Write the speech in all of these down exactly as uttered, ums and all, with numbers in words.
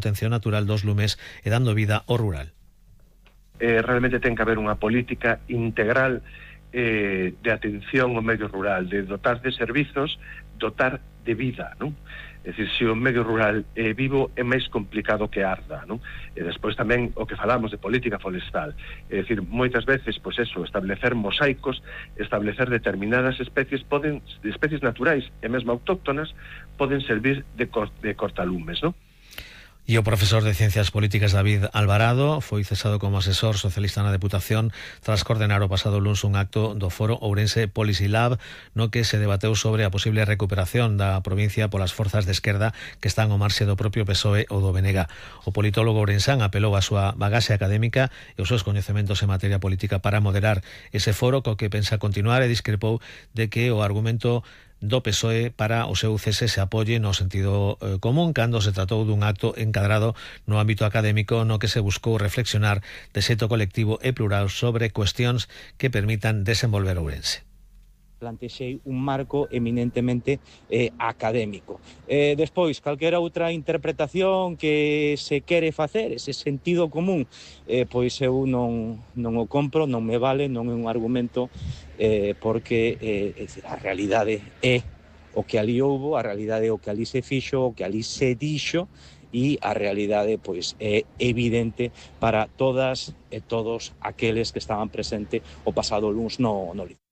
contención natural dos lumes e dando vida ao rural. Eh, realmente ten que haber unha política integral eh, de atención ao medio rural, de dotar de servizos, dotar de vida, non? É dicir, se o medio rural é vivo, é máis complicado que arda, non? E despois tamén o que falamos de política forestal, é dicir, moitas veces, pois eso, establecer mosaicos, establecer determinadas especies, poden, especies naturais e mesmo autóctonas, poden servir de, cor, de cortalumes, non? E o profesor de Ciencias Políticas David Alvarado foi cesado como asesor socialista na Deputación tras coordenar o pasado luns un acto do Foro Ourense Policy Lab no que se debateu sobre a posible recuperación da provincia polas forzas de esquerda que están ao marxe do propio P S O E ou do B N G. O politólogo ourensán apelou a súa bagaxe académica e os seus coñecementos en materia política para moderar ese foro co que pensa continuar e discrepou de que o argumento do P S O E para o seu cese se apoie no sentido eh, común cando se tratou dun acto encadrado no ámbito académico no que se buscou reflexionar de xeito colectivo e plural sobre cuestións que permitan desenvolver Ourense. Plantexei un marco eminentemente eh, académico. Eh, despois, calquera outra interpretación que se quere facer, ese sentido común, eh, pois eu non, non o compro, non me vale, non é un argumento, eh, porque eh, a realidade é o que ali houbo, a realidade é o que ali se fixo, o que ali se dixo, e a realidade pois é evidente para todas e todos aqueles que estaban presentes o pasado luns no, no Liceo.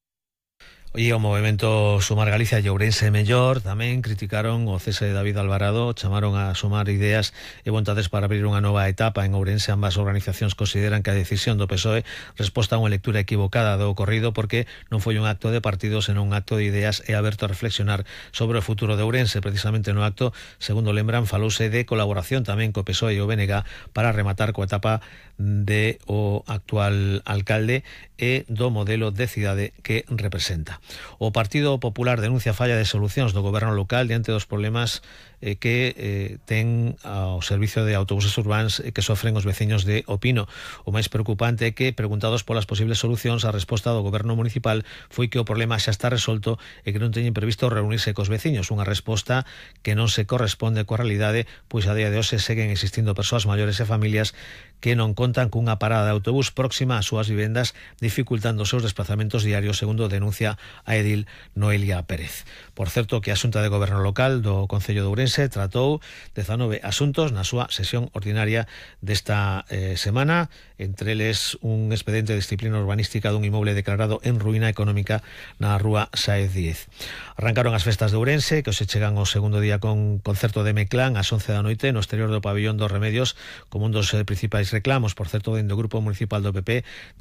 E o movemento Sumar Galicia e Ourense Mellor tamén criticaron o cese de David Alvarado, chamaron a sumar ideas e vontades para abrir unha nova etapa en Ourense. Ambas organizacións consideran que a decisión do P S O E resposta a unha lectura equivocada do ocorrido porque non foi un acto de partido, senón un acto de ideas e aberto a reflexionar sobre o futuro de Ourense. Precisamente no acto, segundo lembran, falouse de colaboración tamén co P S O E e o B N G para rematar coa etapa de o actual alcalde e do modelo de cidade que representa. O Partido Popular denuncia a falla de solucións do goberno local diante dos problemas eh, que eh, ten ao servicio de autobuses urbáns eh, que sofren os veciños de Opino. O máis preocupante é que, preguntados polas posibles solucións, a resposta do goberno municipal foi que o problema xa está resolto e que non teñen previsto reunirse cos veciños. Unha resposta que non se corresponde coa realidade, pois a día de hoxe seguen existindo persoas maiores e familias que non contan cunha parada de autobús próxima ás súas vivendas, dificultando os seus desplazamentos diarios, segundo denuncia a edil Noelia Pérez. Por certo, que a Xunta de Goberno Local do Concello de Ourense tratou dezanove asuntos na súa sesión ordinaria desta eh, semana, entre eles un expediente de disciplina urbanística dun inmoble declarado en ruína económica na rúa Sáez Díez. Arrancaron as festas de Ourense, que hoxe chegan ao segundo día con concerto de Meclán ás once da noite no exterior do pabillón dos Remedios, como un dos eh, principais reclamos. Por certo, dentro do Grupo Municipal do P P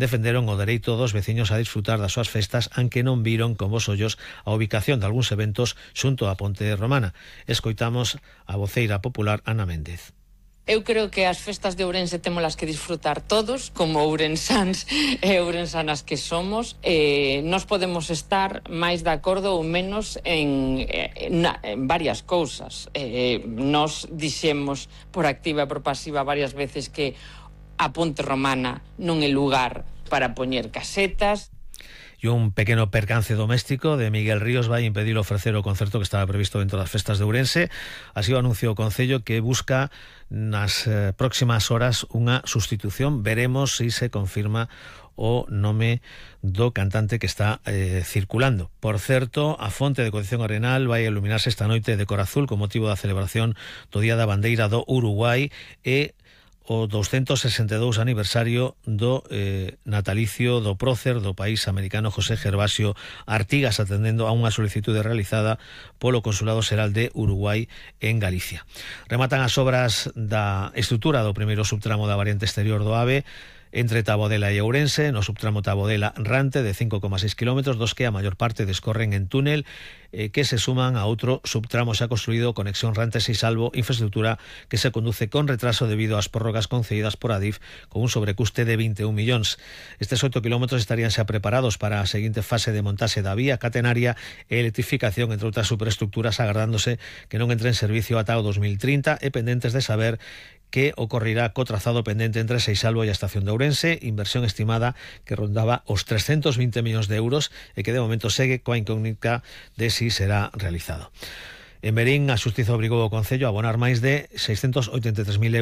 defenderon o dereito dos veciños a disfrutar das súas festas, aunque non viron con bos ollos a ubicación de algúns eventos xunto á Ponte Romana. Escoitamos a voceira popular Ana Méndez. Eu creo que as festas de Ourense témolas que disfrutar todos, como ourensáns e ourensanas que somos. Eh, nos podemos estar máis de acordo ou menos en, en, en varias cousas. Eh, nos dixemos por activa e por pasiva varias veces que a Ponte Romana non é lugar para poñer casetas. E un pequeno percance doméstico de Miguel Ríos vai impedir ofrecer o concerto que estaba previsto dentro das festas de Ourense. Así o anunciou o Concello, que busca nas eh, próximas horas unha sustitución. Veremos se se confirma o nome do cantante que está eh, circulando. Por certo, a fonte de Concepción Arenal vai iluminarse esta noite de cor azul con motivo da celebración do Día da Bandeira do Uruguai e o doscientos sesenta e dous aniversario do eh, natalicio do prócer do país americano José Gervasio Artigas, atendendo a unha solicitude realizada polo Consulado Xeral de Uruguai en Galicia. Rematan as obras da estrutura do primeiro subtramo da variante exterior do AVE entre Tabodela e Ourense, no subtramo Tabodela-Rante de cinco coma seis kilómetros, dos que a maior parte descorren en túnel, eh, que se suman a outro subtramo xa construído, conexión Rante-Seisalvo, infraestructura que se conduce con retraso debido ás prórrogas concedidas por Adif con un sobrecuste de vinte e un millóns. Estes oito kilómetros estarían xa preparados para a seguinte fase de montaxe da vía catenaria e electrificación, entre outras superestructuras, agardándose que non entre en servicio ata o dos mil trinta e pendentes de saber que ocorrirá co trazado pendente entre Seisalvo e a estación de Ourense, inversión estimada que rondaba os trescentos vinte millóns de euros e que de momento segue coa incógnita de si será realizado. En Verín, a Xustiza obrigou o Concello a abonar máis de seiscentos oitenta e tres mil euros